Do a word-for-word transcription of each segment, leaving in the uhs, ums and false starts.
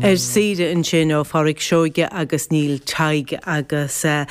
Ar saoire ansin ó Pháraic Seoige agus Neil Tadhg agus uh,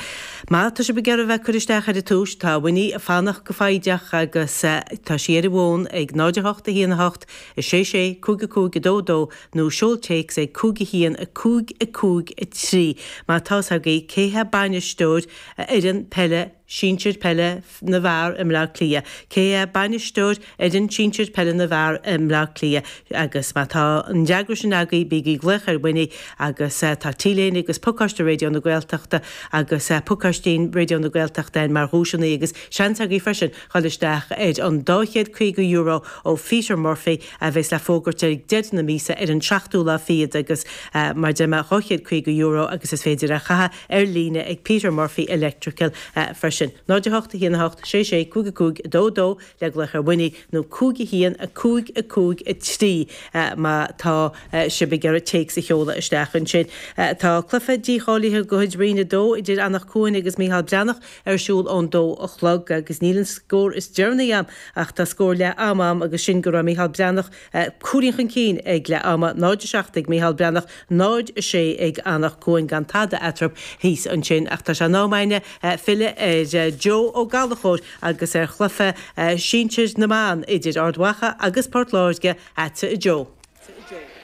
má tá sibh ag iarraidh bheith cur isteach ar an tús tá Winnie ag fanacht go foighdeach agus uh, tá sí ar an bhfón ag náid a hocht a haon a hocht a sé sé cúig a cúig a dó dó nó seol téacs ag cúig a haon a cúig a cúig a trí. Má tá agaibh cé hé bainisteoir fhoireann peile sinsir peile na bhfear i mBleá Cliath. Cé hé bainisteoir fhoireann sinsir peile na bhfear i mBleá Cliath agus má tá an fhreagra sin agaibh bígí ag glaoch ar Winnie agus uh, tá T-léine agus pacáiste Raidió na Gaeltachta agus uh, pacáistín Raidió na Gaeltachta mar dhuaiseanna agus seans agaibh freisin dul isteach ar an dá chéad caoga euro ó Peter Murphy a bheas le fógairt ag deireadh na míosa ar an seachtú lá fichead agus uh, mar de dhá chéad caoga euro agus is féidir a chaitheamh ar líne ag Peter Murphy Electrical uh, freisin. Náid a hocht a haon a hocht sé sé cúig a cúig dó dó le glaoch ar Winnie nó cúig a haon a cúig a cúig a trí uh, má tá uh, sibh ag iarraidh téacs a sheoladh isteach ansin. Uh, tá cluiche dícháilithe de chuid Roinn a dó idir Anach Cuain agus Mícheál Breathnach ar siúl ón dó a chlog agus níl an scór is deireanaí agam ach tá scór leath ama agam agus sin go raibh Mícheál Breathnach uh, cúilín chun cinn ag leath ama náid a seacht ag Mícheál Breathnach náid a sé ag Anach Cuain gan tada eatarthu thíos ansin ach tá sé in am againne uh, filleadh ar uh, Joe Ó Gallchóir agus ar chluiche uh, sinsir na mban idir Ard Mhacha agus Port Láirge ata Joe.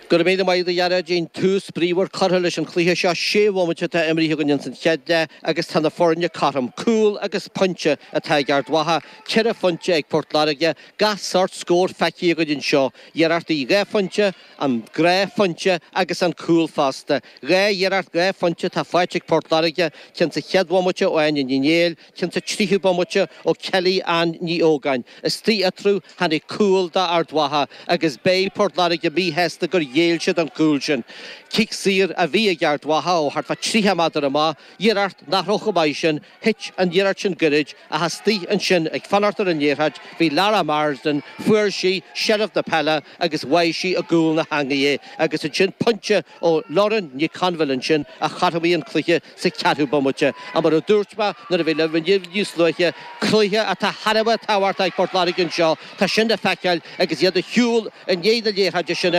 Go raibh míle maith agat a Ghearóidín tús bríomhar curtha leis an chluiche seo sé bhomaite atá imrithe againn san chéad leath agus tá na foirne cothrom cúl agus pointe atá ag Ard Mhacha, ceithre phointe ag Port Láirge, gach sórt scór feicthe againn anseo, iarrachtaí dhá phointe, an gnáthphointe agus an cúl fosta. Dhá iarracht dhá phointe tá faighte ag Port Láirge, ceann sa chéad bhomaite ó Áine Ní Néill, ceann sa tríú bomaite ó Kelly Ann Ní Ógáin. Istigh eatarthu tháinig cúl d'Ard Mhacha agus beidh Port Láirge míshásta gur ghéill siad an cúl sin. Cic saor a bhí ag Ard Mhacha ó thart fá tríocha méadar amach, iarracht nach raibh chomh maith sin, thit an iarracht sin gairid ach istigh ansin ag fanacht ar an liathróid, bhí Lara Marsden, fuair sí seilbh na peile agus bháigh sí i gcúl na heangaí é agus ansin pointe ó Lauren Ní Conbhil ansin a chothromaigh an cluiche sa cheathrú bomaite. A mar a dúirt mé nuair a bhí le níos luaithe cluiche atá thar a bheith tábhachtach ag Port Láirge anseo, Tá sin le feiceáil agus iad ag siúl i ndiaidh na liathróide sin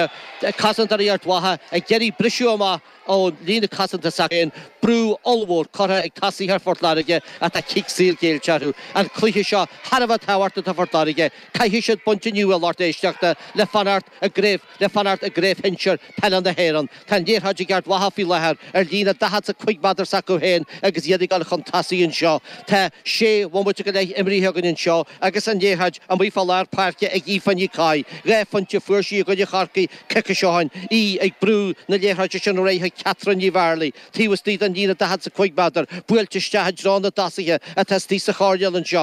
cosantóirí Ard Mhacha ag iarraidh briseadh amach ó líne cosanta s'acu brú ollmhór curtha ag tosaithe ar Phort Láirge atá cic saor géillte orthu. An cluiche seo thar a bheith tábhachtach do Phort Láirge, caithfidh siad pointe inniu a lucht éisteachta le fanacht i gcraobh le fanacht i gcraobh shinsir peile na hÉireann. Tá an liathróid ag Ard Mhacha faoi láthair ar líne daichead is a cúig méadar s'acu féin agus iad ag dul chun tosaigh anseo. Tá sé bhomaite go leith imrithe againn anseo agus an liathróid amuigh fá lár páirce ag Aoife Ní Chofaigh. Dhá phointe fuair sí i gcoinne Chorcaí coicís ó shin í ag brú na liathróide sin ar aghaidh Catherine Ní Bhearlaí, taobh istigh den líne daichead is a cúig méadar, buailte isteach i dtreo na dtosaithe atá istigh sa choirnéal anseo.